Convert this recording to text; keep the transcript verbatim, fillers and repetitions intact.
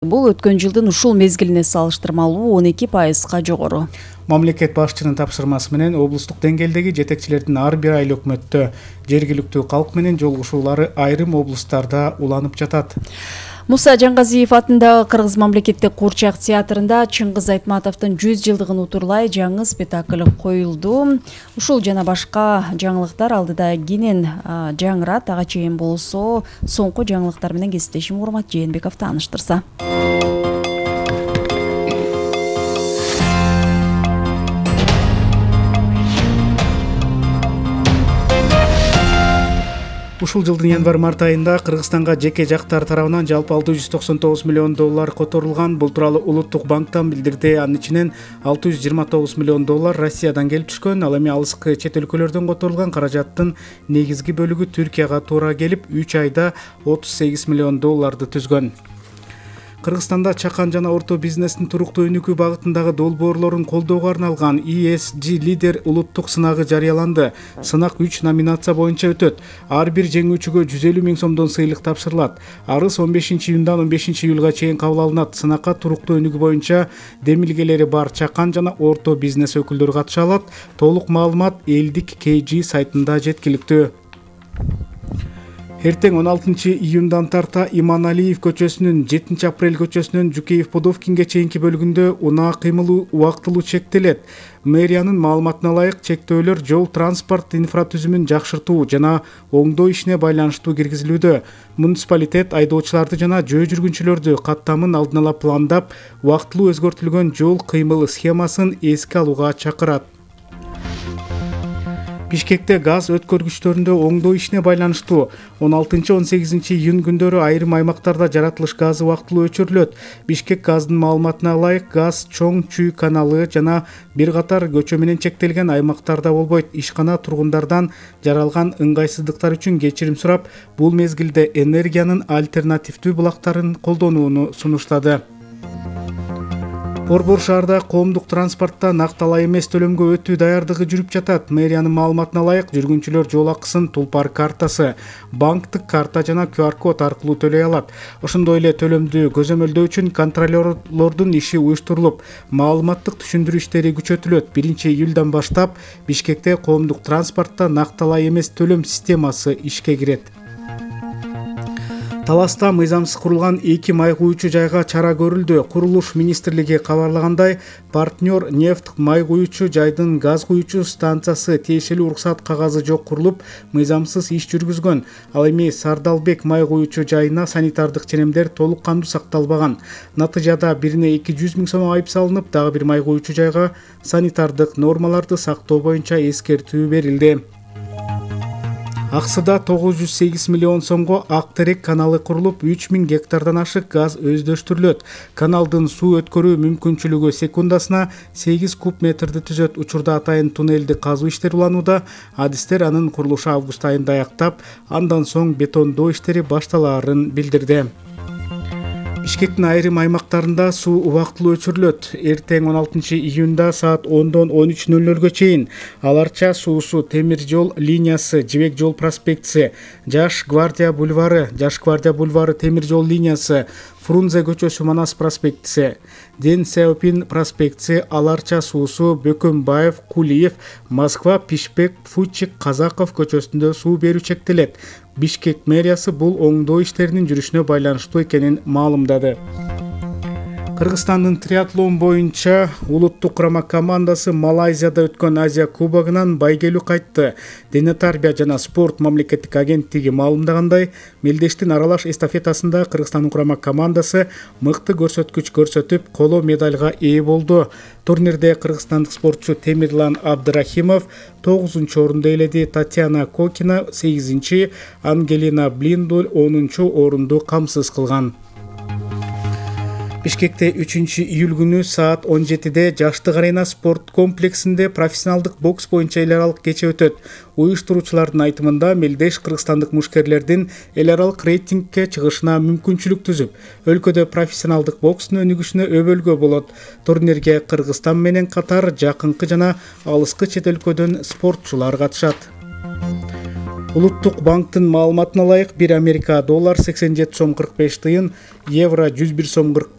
Бул өткөн жылдын ушул мезгилине салыштырмалуу он эки пайызга жогору. Мамлекет башчынын тапшырмасы менен облустук деңгээлдеги жетекчилердин ар бир айыл өкмөттө жергиликтүү калк менен жолугушуулары айрым облустарда уланып жатат. Муса Жангазиев атындагы Кыргыз мамлекеттик куурчак театрында Чыңгыз Айтматовдун жүз жылдыгын утурлай жаңы спектакль коюлду. Ушул жана башка жаңылыктар алдыда кенен жаңырат. Ага чейин болсо соңку жаңылыктар менен кесиптешим Урмат Жээнбеков тааныштырса. Ушул жылдын январь-март айында Кыргызстанга жеке жактар тарабынан жалпы алты жүз токсон тогуз миллион доллар которулган. Бул тууралуу Улуттук банктан билдирди. Анын ичинен алты жүз жыйырма тогуз миллион доллар Россиядан келип түшкөн. Ал эми алыскы чет өлкөлөрдөн которулган каражаттын негизги бөлүгү Түркияга туура келип, үч айда отуз сегиз миллион долларды түзгөн. Кыргызстанда чакан жана орто бизнестин туруктуу өнүгүү багытындагы долбоорлорун колдоого арналган и эс джи лидер улуттук сынагы жарыяланды. Сынак үч номинация боюнча өтөт. Ар бир жеңүүчүгө жүз элүү миң сомдон сыйлык тапшырылат. Арыз он бешинчи июндан он бешинчи июлга чейин кабыл алынат. Сынакка туруктуу өнүгүү боюнча демилгелери бар чакан жана орто бизнес өкүлдөрү катыша алат. Толук маалымат элдик кей жи сайтында жеткиликтүү. Эртең он алтынчы июндан тарта Иманалиев көчөсүнүн жетинчи апрель көчөсүнөн Жукеев Подовкинге чейинки бөлүгүндө унаа кыймылы убактылуу чектелет. Мэриянын маалыматына ылайык, чектөөлөр жол транспорт инфратүзүмүн жакшыртуу жана оңдоо ишине байланыштуу киргизилүүдө. Муниципалитет айдоочуларды жана жөө жүргүнчүлөрдү каттамын алдын ала пландап, убактылуу өзгөртүлгөн жол кыймыл схемасын эске алууга чакырат. Бишкекте газ өткөргүчтөрүндө оңдоо ишине байланыштуу он алтынчы он сегизинчи июнь күндөрү айрым аймактарда жаратылыш газы убактылуу өчүрүлөт. Бишкек газдын маалыматына ылайык, газ Чоң Чүй каналы жана бир катар көчө менен чектелген аймактарда болбойт. Ишкана тургундардан жаралган ыңгайсыздыктар үчүн кечирим сурап, бул мезгилде энергиянын альтернативдүү булактарын колдонууну сунуштады. Борбор шаарда коомдук транспортто накталай эмес төлөмгө өтүү даярдыгы жүрүп жатат. Мэриянын маалыматына ылайык, жүргүнчүлөр жол акысын Тулпар картасы, банктык карта жана ку ар код аркылуу төлөй алат. Ошондой эле төлөмдү көзөмөлдөө үчүн контролёрлордун иши уюштурулуп, маалыматтык түшүндүрүү иштери күчөтүлөт. биринчи июлдан баштап Бишкекте коомдук транспортто накталай эмес төлөм системасы ишке кирет. Таласта мыйзамсыз курулган эки май куючу жайга чара көрүлдү. Курулуш министрлиги кабарлагандай, партнер нефть май куючу жайдын газ куючу станциясы тиешелүү уруксат кагазы жок курулуп, мыйзамсыз иш жүргүзгөн. Ал эми Сардалбек май куючу жайына санитардык ченемдер толук кандуу сакталбаган. Натыйжада бирине эки жүз миң сом айып салынып, дагы бир май куючу жайга санитардык нормаларды сактоо боюнча эскертүү берилди. Аксыда тогуз жүз сегиз миллион сомго Ак Терек каналы курулуп, үч миң гектардан ашык газ өздөштүрүлөт. Каналдын суу өткөрүү мүмкүнчүлүгү секундасына сегиз куб метрди түзөт. Учурда атайын туннелди казуу иштери уланууда. Адистер анын курулушу август айында аяктап, андан соң бетондоо иштери башталаарын билдирди. Бишкектин айрым аймактарында суу убактылуу өчүрүлөт. Эртең он алтынчы июнда саат ондон он үч нөл нөлгө чейин Аларча суусу темир жол линиясы, Жибек жол проспектиси, Жаш гвардия бульвары, Жаш гвардия бульвары темир жол линиясы, Фрунзе көчөсү Манас проспектиси, Ден Сяопин проспектиси, Аларча суусу, Бөкөнбаев, Кулиев, Москва, Пишпек, Фучик, Казаков көчөсүндө суу берүү чектелет. Бишкек мэриясы бул оңдоо иштеринин жүрүшүнө байланыштуу экенин маалымдады. Кыргызстандын триатлон боюнча улуттук курама командасы Малайзияда өткөн Азия кубогунан байгелүү кайтты. Дене тарбия жана спорт мамлекеттик агенттиги маалымдагандай, мелдештин аралаш эстафетасында Кыргызстандын курама командасы мыкты көрсөткүч көрсөтүп, коло медальга ээ болду. Турнирде кыргызстандык спортчу Темирлан Абдрахимов тогузунчу орунду ээледи. Татьяна Кокина сегизинчи, Ангелина Блиндуль онунчу орунду камсыз кылган. Бишкекте үчүнчү июль күнү саат он жетиде Жаштык арена спорт комплексинде профессионалдык бокс боюнча эл аралык кече өтөт. Уюштуруучулардын айтымында, мелдеш кыргызстандык мушкерлердин эл аралык рейтингке чыгышына мүмкүнчүлүк түзүп, өлкөдө профессионалдык бокстун өнүгүшүнө өбөлгө болот. Турнирге Кыргызстан менен катар жакынкы жана алыскы чет өлкөдөн спортчулар катышат. Улуттук банктын маалыматына ылайык бир Америка доллар сексен жети сом кырк беш тыйын, евро жүз бир сом кырк